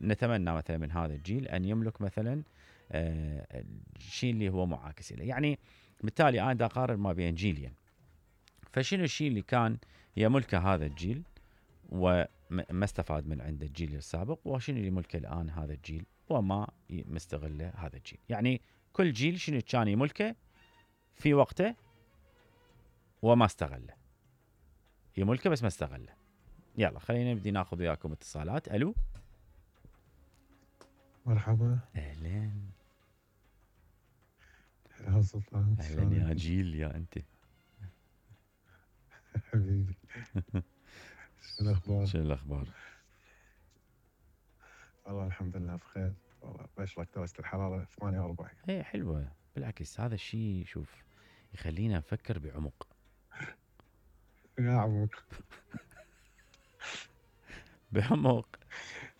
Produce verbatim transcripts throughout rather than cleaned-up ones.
نتمنى مثلا من هذا الجيل ان يملك مثلا آه الشيء اللي هو معاكس له. يعني بالتالي انا دا اقارن ما بين جيلين، فشنو الشيء اللي كان يملكه هذا الجيل وما استفاد من عند الجيل السابق، وشنو اللي يملكه الان هذا الجيل وما مستغله هذا الجيل. يعني كل جيل شنو كان يملكه في وقته وما استغله، يملكه بس ما استغله. يلا خلينا نبدي ناخذ وياكم اتصالات. الو مرحبا. اهلا يا سلطان. اهلا يا جيل يا انت حبيبي. شو الاخبار؟ شو الاخبار؟ والله الحمد لله بخير. والله بشرك درجة الحرارة ثمانية وأربعين. اي حلوه بالعكس، هذا الشيء شوف يخلينا نفكر بعمق. يا عمق. بعمق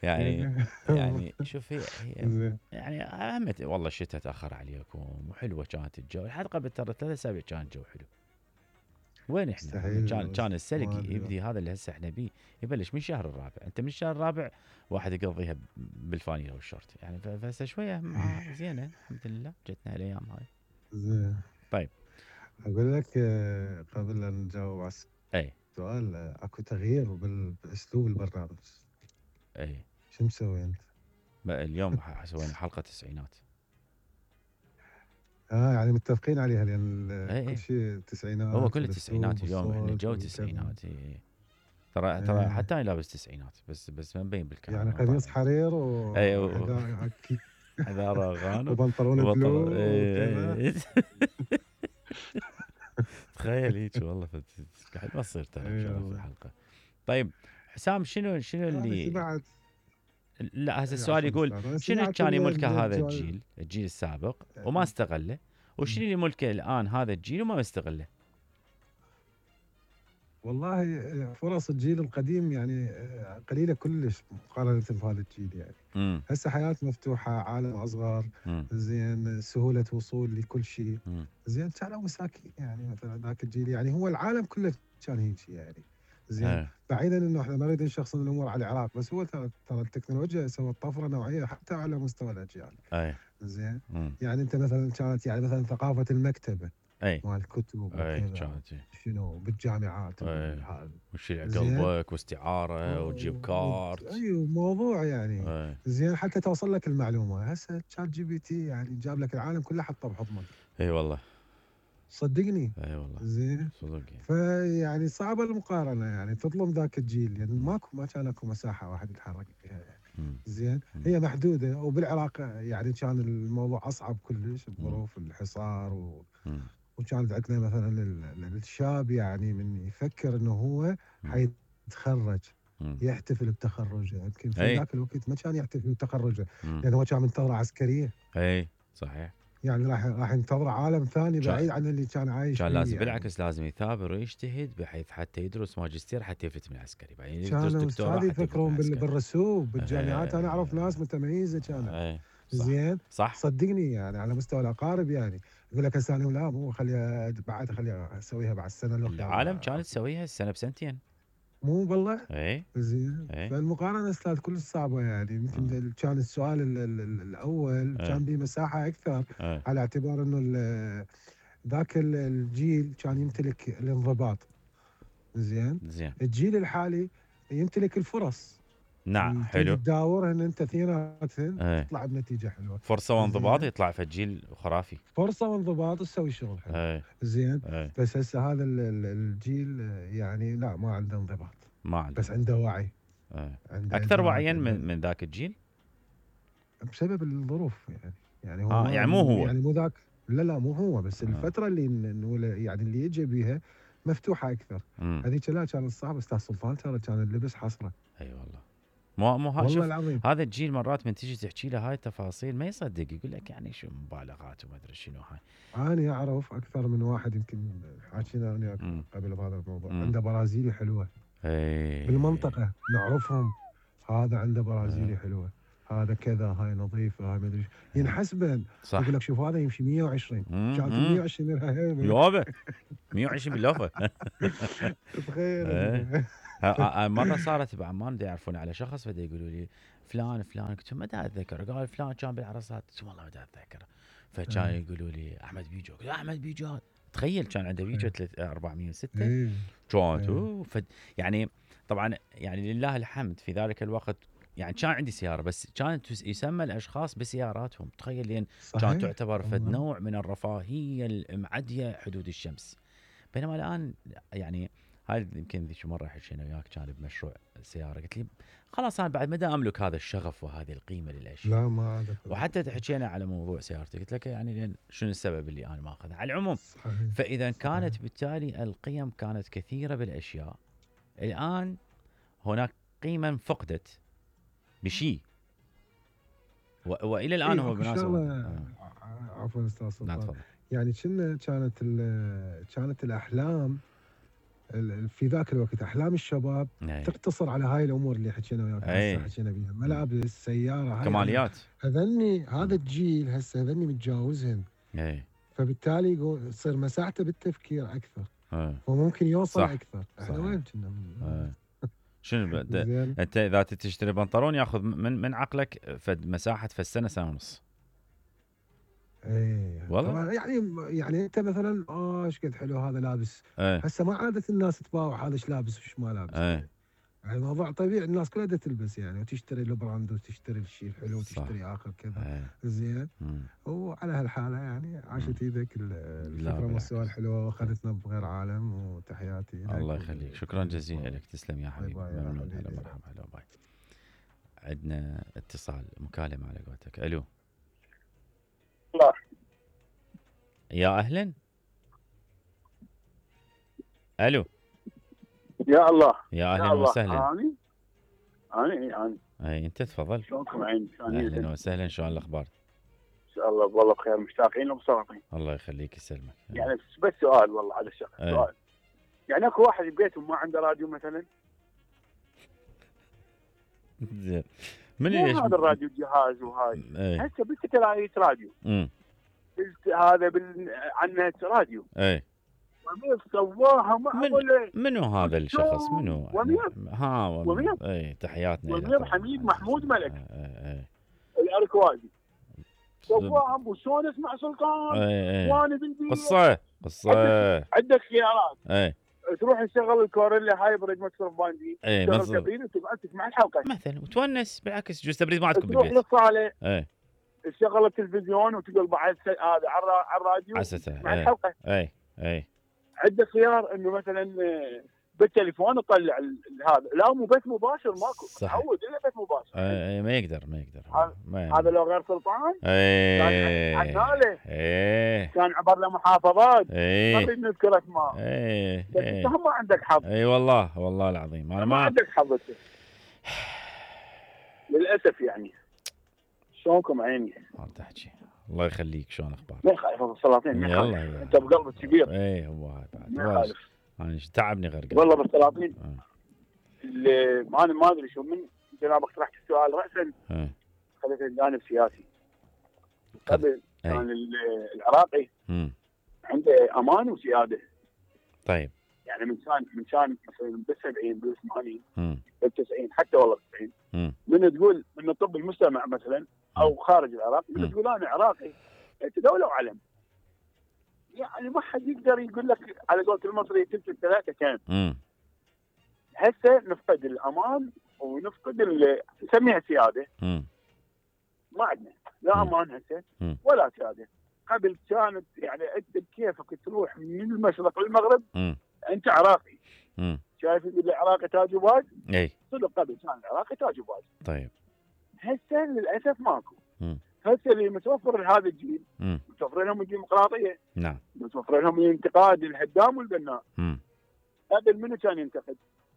يعني يعني شوف هي, هي يعني اهمت والله الشتاء تاخر عليكم وحلوه كانت الجو، لحد قبل ترى ثلاث اسابيع كان الجو حلو. وين احنا؟ كان كان السلق يبدي هذا اللي هسه احنا بيه يبلش من الشهر الرابع، انت من الشهر الرابع واحد يقضيها بالفانيله والشورت يعني، فهسه شويه مع زينه الحمد لله جتنا الايام هاي. زين. طيب اقول لك قبل ان نجاوب على اي السؤال، اكو تغيير باسلوب البرنامج. اي شو مسوي انت؟ اليوم سوينا حلقه تسعينات. اه يعني متفقين عليها لان ايه كل شيء تسعينات. هو كل التسعينات اليوم احنا جو تسعينات. ايه ترى ايه. ترى حتى انا لابس تسعينات بس بس ما مبين بالكاميرا. يعني قميص حرير و ايوه حذاء غانم وبنطلون بلو ايه تخيل هيك والله قاعد ما تصير ترى في الحلقه. طيب حسام شنو شنو اللي بعد؟ لا هذا السؤال يقول شنو كان يملكه هذا الجيل الجيل السابق وما استغله، وشنو اللي يملكه الان هذا الجيل وما مستغله؟ والله فرص الجيل القديم يعني قليله كلش مقارنه بهذا الجيل يعني. هسه حياه مفتوحه، عالم اصغر، زين سهوله وصول لكل شيء، زين كانوا مساكين يعني. مثلا ذاك الجيل يعني هو العالم كله كان هيك يعني. زين بعيدا انه احنا ما نريد نشخصن الامور على العراق، بس هو ترى التكنولوجيا سوت طفره نوعيه حتى على مستوى الاجيال. اي زين يعني انت مثلا كانت يعني مثلا ثقافه المكتبه اي مال الكتب وكذا شنو بالجامعات وهذا وشيل قلبك واستعاره وتجيب كارت. ايوه موضوع يعني أي. زين حتى توصل لك المعلومه. هسه شات جي بي تي يعني جاب لك العالم كله حطه بحضنك. اي والله صدقني. اي والله زين صدق. فيعني صعبه المقارنه يعني تظلم ذاك الجيل يعني ماكو ما كان اكو مساحه واحد يتحرك فيها يعني. زين هي محدوده، وبالعراق يعني كان الموضوع اصعب كلش بظروف الحصار و وكانت عندنا مثلا الشاب يعني من يفكر انه هو حيتخرج يحتفل بتخرجه. يمكن في ذاك الوقت ما كان يحتفل بتخرجه لانه هو كان منتظر عسكريه. اي صحيح. يعني راح راح ينتظر عالم ثاني بعيد عن اللي كان عايش فيه. كان لازم يعني. بالعكس لازم يثابر ويجتهد بحيث حتى يدرس ماجستير حتى يفلت من العسكري، بعدين يدرس دكتوراه يفكرون بالرسوب بالجامعات. انا اعرف ناس متميزه كانت. زين صح صدقني يعني على مستوى الاقارب يعني يقول لك هسه انا لا مو خليها بعد خليها اسويها بعد السنه الاخرى. العالم كانت تسويها السنه بسنتين. مو والله. اي زين فالمقارنه استاذ كلش صعبه يعني. يمكن كان السؤال ال ال ال الاول أي. كان به مساحه اكثر أي. على اعتبار انه ذاك الجيل كان يمتلك الانضباط. زين زين الجيل الحالي يمتلك الفرص. نعم حلو تداورهن انت اثنيناتهن تطلع بنتيجه حلوه. فرصه وانضباط يطلع في الجيل خرافي. فرصه وانضباط تسوي شغل حلو. أي. زين أي. بس هسه هذا الجيل يعني لا ما عنده انضباط. ما عنده بس عنده وعي. عنده اكثر وعيا من, من ذاك الجيل بسبب الظروف يعني. يعني هو آه يعني مو هو يعني مو ذاك. لا لا مو هو بس آه. الفتره اللي يعني اللي يجي بيها مفتوحه اكثر. هذيك لا كان الصعب. استاذ سلطان ترى كان اللبس حصره. اي أيوة والله مو مو والله العظيم. هذا الجيل مرات من تيجي تحكي له هاي التفاصيل ما يصدق، يقول لك يعني شو مبالغات وما ادري شنو هاي. انا اعرف اكثر من واحد يمكن حاكينا انا قبل بهذا الموضوع مم. عنده برازيلي حلوه. اي بالمنطقه نعرفهم. هذا عنده برازيلي حلوه، هذا كذا، هاي نظيفه، هاي ما ادري ينحسبن. يقول لك شوف هذا يمشي مية وعشرين كانت مية وعشرين يابا مية وعشرين باللوفه. تخيل. مره صارت بعمان دا يعرفون على شخص فدا يقولوا لي فلان فلان، قلت ما دا اتذكر. قال فلان كان بالعرصات، قلت والله ما دا اتذكر. فكان يقولوا لي احمد بيجو، قلت احمد بيجو تخيل كان عنده بيجو أربعمية وستة كانت فد يعني. طبعا يعني لله الحمد في ذلك الوقت يعني كان عندي سياره، بس كانت يسمى الاشخاص بسياراتهم، تخيل لين كانت تعتبر فد نوع من الرفاهيه المعديه حدود الشمس. بينما الان يعني هاي يمكن ذيك مره حكينا وياك كان بمشروع سياره، قلت لي خلاص انا بعد مدى املك هذا الشغف وهذه القيمه للاشياء. لا ما عاد. وحتى حكينا على موضوع سيارتي، قلت لك يعني لين شنو السبب اللي انا ما اخذها على العموم. صحيح. فاذا صحيح. كانت بالتالي القيم كانت كثيره بالاشياء، الان هناك قيمه فقدت بشيء، والى الان إيه هو بمناسبه آه. عفوا استاذ سلطان، يعني كنا كانت كانت الاحلام في ذاك الوقت، احلام الشباب أي. تقتصر على هاي الامور اللي حكينا وياك هسه حكينا بيها، ملابس، سياره، هاي كماليات. هذني هذا الجيل هسه هذني متجاوزهن. اي. فبالتالي يصير مساحته بالتفكير اكثر. أي. وممكن يوصل صح. اكثر. احنا وين كنا؟ شنو انت اذا تشتري بنطلون ياخذ من من عقلك فد مساحه في السنه سنه ونص. ايه والله يعني يعني انت مثلا اه ايش قد حلو هذا لابس. ايه. هسه ما عادت الناس تباوع هذا ايش لابس وش ما لابس. ايه. يعني الموضوع طبيعي، الناس كلها تلبس يعني، وتشتري البراند وتشتري الشيء الحلو وتشتري اخر كذا. ايه. زين. وعلى هالحاله يعني عاشت ايدك الفكره والسؤال الحلوه واخذتنا بغير عالم. وتحياتي لك. الله يخليك، شكرا جزيلا لك، تسلم يا حبيبي. ممنون. هلا مرحبا. هلا باي. عندنا اتصال مكالمه على قولتك. الو. الله. يا اهلا. الو. يا الله. يا اهلا وسهلا. اني اني اني اي انت تفضل. شلونكم عيني؟ اهلا وسهلا، شلون الاخبار؟ ان شاء الله والله بخير، مشتاقين ومصابين. الله يخليك يسلمك. يعني بس سؤال والله على الشغل. سؤال، يعني اكو واحد ببيته ما عنده راديو مثلا؟ زين. من ليش هذا الراديو جهاز وهاي هسه بالكتلايت راديو. امم هذا بال عنه راديو. اي ومين سواها معقوله؟ من منو هذا الشخص؟ منو؟ ومين؟ ها ومين؟ اي تحياتنا. ومين؟ حميد محمود ملك. اي اي الاركوادي. سواها وشلون اسمع سلطان؟ اي اي وانا بنتي قصه قصه. عندك خيارات. اي تروح تشغل الكوريلا هايبريد مكسر باندي. اي تشغل تبريد وتقعد تسمع الحلقه مثلا وتونس. بالعكس جوز تبريد ما عندكم بالبيت. تروح للصاله. اي تشغل التلفزيون وتقول بعد هذا على الراديو مع الحلقه. اي اي عندك خيار انه مثلا بالتليفون تطلع هذا. لا مو بث مباشر ماكو. تعود الا بث مباشر. اي ما يقدر ما يقدر هذا لو غير سلطان. اي كان عناله. اي كان عبر له محافظات. اي ما نريد نذكر اسماء. اي انت ما عندك حظ. اي والله والله العظيم انا ما, ما عندك حظ للاسف. يعني شلونكم عيني؟ ما تحكي. الله يخليك، شلون اخبارك؟ ما خايف السلاطين. يلا انت بقلبك كبير. اي هو هاي بعد ما خالف. انا تعبني غرقان والله بالسلاطين. اللي ما انا ما ادري شو من جنابك طرحت السؤال راسا خليت الجانب سياسي. قبل كان العراقي مم. عنده امان وسياده. طيب يعني من كان من كان مثلا بالسبعين بالثمانين بالتسعين حتى والله بالتسعين من تقول من طب المجتمع مثلا او خارج العراق من تقول انا عراقي انت دوله وعلم. يعني ما حد يقدر يقول لك على قولة المصري تلت الثلاثه كان. هسه نفقد الامان ونفقد نسميها سياده. مم. ما عندنا لا امان هسه ولا سياده. قبل كانت يعني انت بكيفك تروح من المشرق للمغرب. مم. انت عراقي. مم. شايف اللي العراقي تاج وباج؟ اي صدق قبل كان العراقي تاج وباج. طيب هسه للاسف ماكو. مم. هسه اللي متوفر لهذا الجيل مم. متوفر لهم الديمقراطيه. نعم. متوفر لهم الانتقاد الهدام والبناء. مم. قبل منو كان ينتقد؟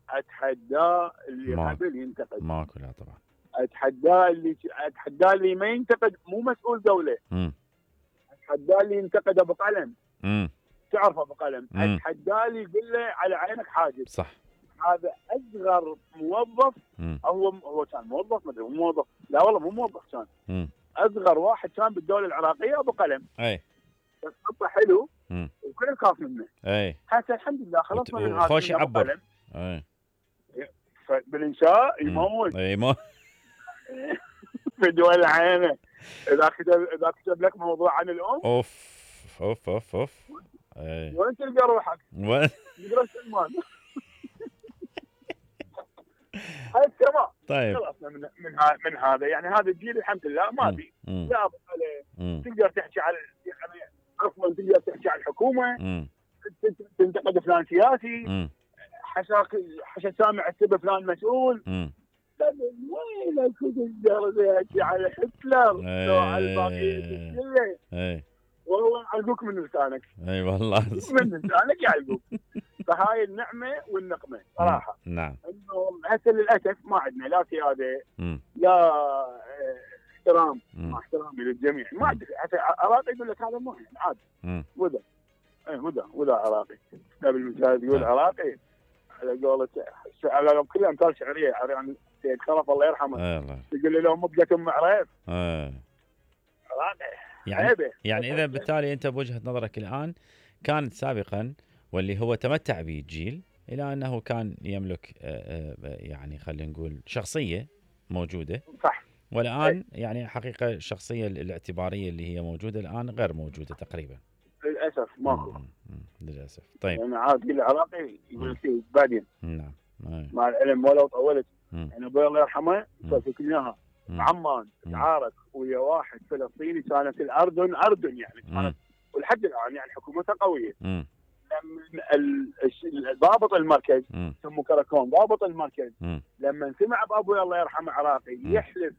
اتحدى اللي ما. قبل ينتقد. ماكو لا طبعا. اتحدى اللي اتحدى اللي ما ينتقد مو مسؤول دوله. مم. اتحدى اللي ينتقد ابو قلم. امم تعرف ابو قلم. اتحدى اللي يقول له على عينك حاجب. صح. هذا اصغر موظف. مم. هو هو كان موظف ما ادري مو موظف. لا والله مو موظف كان. مم. اصغر واحد كان بالدوله العراقيه ابو قلم. اي بس خطه حلو. مم. وكل الخاف منه. اي هسه الحمد لله خلصنا وت... من هذا. خوش يعبر. اي بالانشاء يموت. اي ما في دول العينه اذا كتب اذا كتب لك موضوع عن الام اوف اوف اوف اوف وين تلقى روحك؟ وين؟ تقرا سلمان. هاي السماء. طيب خلصنا من من, من هذا يعني هذا الجيل الحمد لله ما بي لا عليه. تقدر تحكي على يعني عفوا تقدر تحكي على الحكومه مم. تنتقد فلان سياسي حشاك حشا سامع السبب فلان مسؤول. وين تقدر تحكي على هتلر لو على الباقيين كله والله يعلقوك من لسانك. اي والله من لسانك يعلقوك. فهاي النعمه والنقمه صراحه. نعم. انه هسه للاسف ما عندنا لا سياده لا احترام مع احترامي للجميع ما عندك حتى عراقي يقول لك هذا مو يعني عادي وذا اي وذا وذا عراقي قبل المثال يقول عراقي على قولة على كل امثال شعريه عن سيد خلف الله يرحمه يقول له لو مبقت ام عريف عراقي يعني عيبه. يعني اذا بالتالي انت بوجهه نظرك الان كانت سابقا واللي هو تمتع به الجيل الى انه كان يملك يعني خلينا نقول شخصيه موجوده صح والان أي. يعني حقيقه الشخصيه الاعتباريه اللي هي موجوده الان غير موجوده تقريبا للاسف ماكو للاسف. طيب يعني عاد العراقي يقول لك بعدين نعم مع العلم ولو طولت يعني ابوي الله يرحمه فكرت اياها عمان تعارك ويا واحد فلسطيني كانت الاردن اردن يعني كانت ولحد الان يعني حكومتها قويه. مم. لما ضابط المركز سموه كراكون ضابط المركز مم. لما سمع بابوي الله يرحمه عراقي يحلف